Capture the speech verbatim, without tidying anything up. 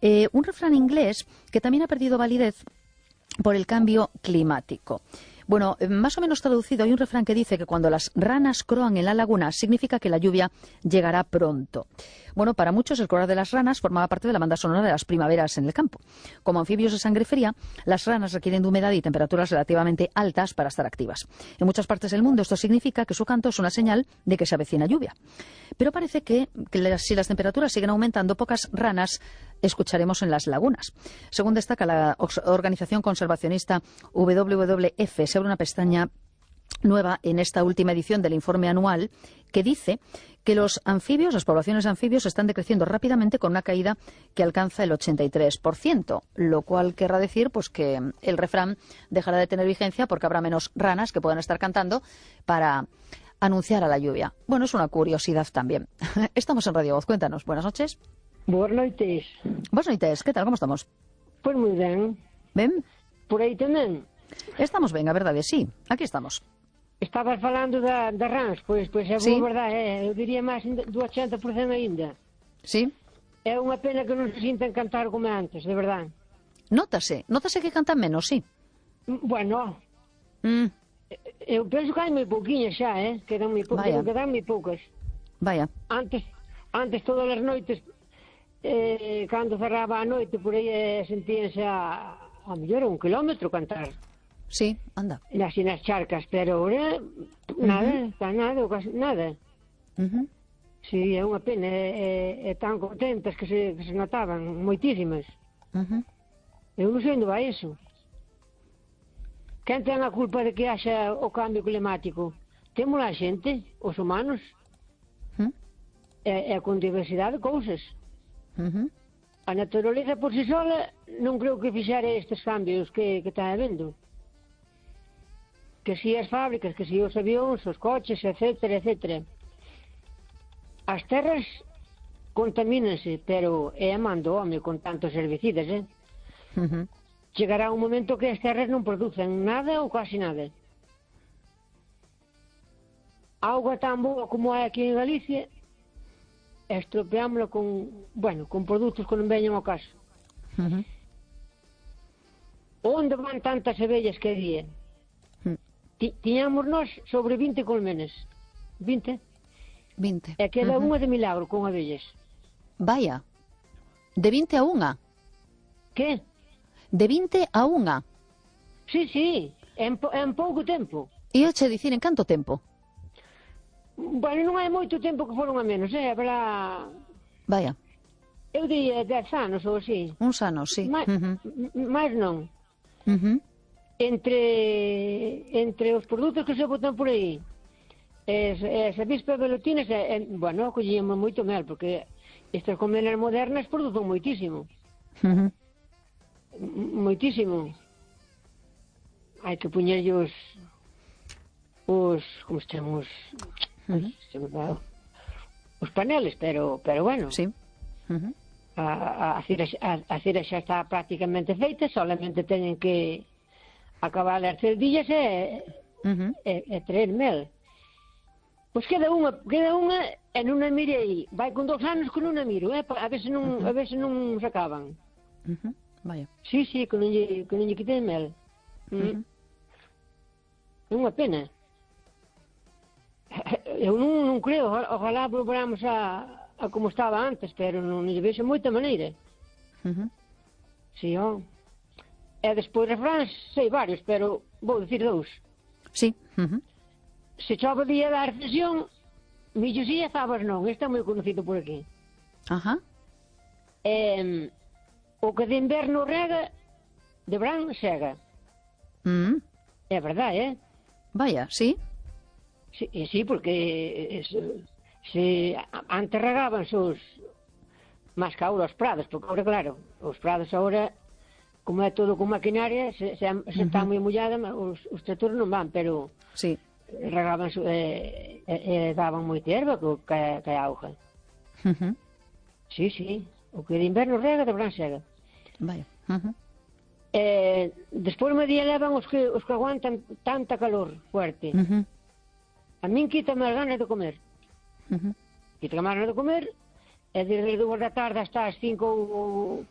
Eh, un refrán inglés que también ha perdido validez por el cambio climático. Bueno, más o menos traducido, hay un refrán que dice que cuando las ranas croan en la laguna significa que la lluvia llegará pronto. Bueno, para muchos el croar de las ranas formaba parte de la banda sonora de las primaveras en el campo. Como anfibios de sangre fría, las ranas requieren de humedad y temperaturas relativamente altas para estar activas. En muchas partes del mundo esto significa que su canto es una señal de que se avecina lluvia. Pero parece que, que si las temperaturas siguen aumentando, pocas ranas escucharemos en las lagunas. Según destaca la organización conservacionista W W F, se abre una pestaña nueva en esta última edición del informe anual que dice que los anfibios, las poblaciones de anfibios están decreciendo rápidamente con una caída que alcanza el ochenta y tres por ciento, lo cual querrá decir pues que el refrán dejará de tener vigencia porque habrá menos ranas que puedan estar cantando para anunciar a la lluvia. Bueno, es una curiosidad también. Estamos en Radio Voz, cuéntanos. Buenas noches. Boas noites. Buenas noites, ¿qué tal? ¿Cómo estamos? Pois moi ben. Ben? Por aí tamén. Estamos ben, a verdade, sí. Aquí estamos. Estabas falando da, da rans, pois, pois é sí. boa verdade, é, eu diría máis do ochenta por cento ainda. Sí. É unha pena que non se sintan cantar como antes, de verdade. Nótase, nótase que cantan menos, sí. Bueno, mm. eu penso que hai moi pouquinhas xa, eh? Quedan moi poucas, quedan moi poucas. Vaya. Antes, antes todas as noites, eh, cando cerraba a noite, por aí eh, sentíanse a, a mellor un kilómetro cantar. Sí, anda. Nas, nas charcas, pero ahora nada, uh -huh. nada, casi nada. Uh -huh. Sí, é unha pena, é, é, é tan contentas que se, que se notaban, moitísimas. Uh -huh. Eu non sei onde vai iso. Quen ten a culpa de que haxa o cambio climático? Temos a xente, os humanos, uh -huh. é, é con diversidade de cousas. Uh -huh. A naturaleza por si sola non creo que fixera estes cambios que, que está habendo. Que si as fábricas, que si os avións, os coches, etcétera, etcétera. As terras contamínanse, pero é a man do home con tantos herbicidas, eh? Uh -huh. Chegará un momento que as terras non producen nada ou casi nada. Auga tan boa como hai aquí en Galicia, estropeámola con, bueno, con produtos que non veñen ao caso. Uh -huh. Onde van tantas abellas que día? Tiñamos nós sobre vinte colmenas. vinte? vinte. E queda uh -huh. unha de milagro con abellas. Vaya. De vinte a unha? Que? De vinte a unha? Sí, sí. En, en pouco tempo. E eu che dicir, en canto tempo? Bueno, non hai moito tempo que foron a menos, eh? Habrá... Vaya. Eu diría dez anos ou así. Uns anos, sí. Ma, uh -huh. Mais non. Uh -huh. Entre, entre os produtos que se botan por aí, as, as avispas velutinas, eh, bueno, collíamos moito mel, porque estas colmenas modernas producen moitísimo. Uh -huh. Moitísimo. Hai que poñerlle os, os, como se chama, os, uh -huh. os paneles, pero, pero bueno. Sí. Uh -huh. a, a, cera, a, a cera xa está prácticamente feita, solamente teñen que acabar as cerdillas e, uh -huh. e, e traer mel. Pois queda unha, queda unha e non a mirei. Vai con dos anos que non a miro, eh? a ver se non, uh -huh. a ver se non se acaban. Uh -huh. Vaya. Sí, sí, que non lle, que non lle quiten mel. Mm. Uh -huh. Unha pena. Eu non, non creo, ojalá volveramos a, a como estaba antes, pero non lle vexo moita maneira. Uh -huh. Sí, ó. E despois refráns, sei varios, pero vou dicir dous. Sí. Uh -huh. Se chove día da recesión, millos e azabas non. Este é moi conocido por aquí. Ajá. E, o que de inverno rega, de verán sega. Mm. É verdade, eh? Vaya, sí. Sí, sí, porque se, se antes regaban os máis que ahora os prados, porque ahora, claro, os prados ahora, como é todo con maquinaria, se, se, se uh -huh. está moi mollada, os, os tractores non van, pero sí. regaban e eh, eh, daban moita erva que, que a auga. Uh -huh. Sí, sí, o que de inverno rega, de verán sega. Vaya. Uh -huh. Eh, despois me día levan os que, os que aguantan tanta calor fuerte. Uh -huh. A min quítame as ganas de comer. Uh -huh. Quítame as ganas de comer, e desde dúas da tarde hasta as cinco ou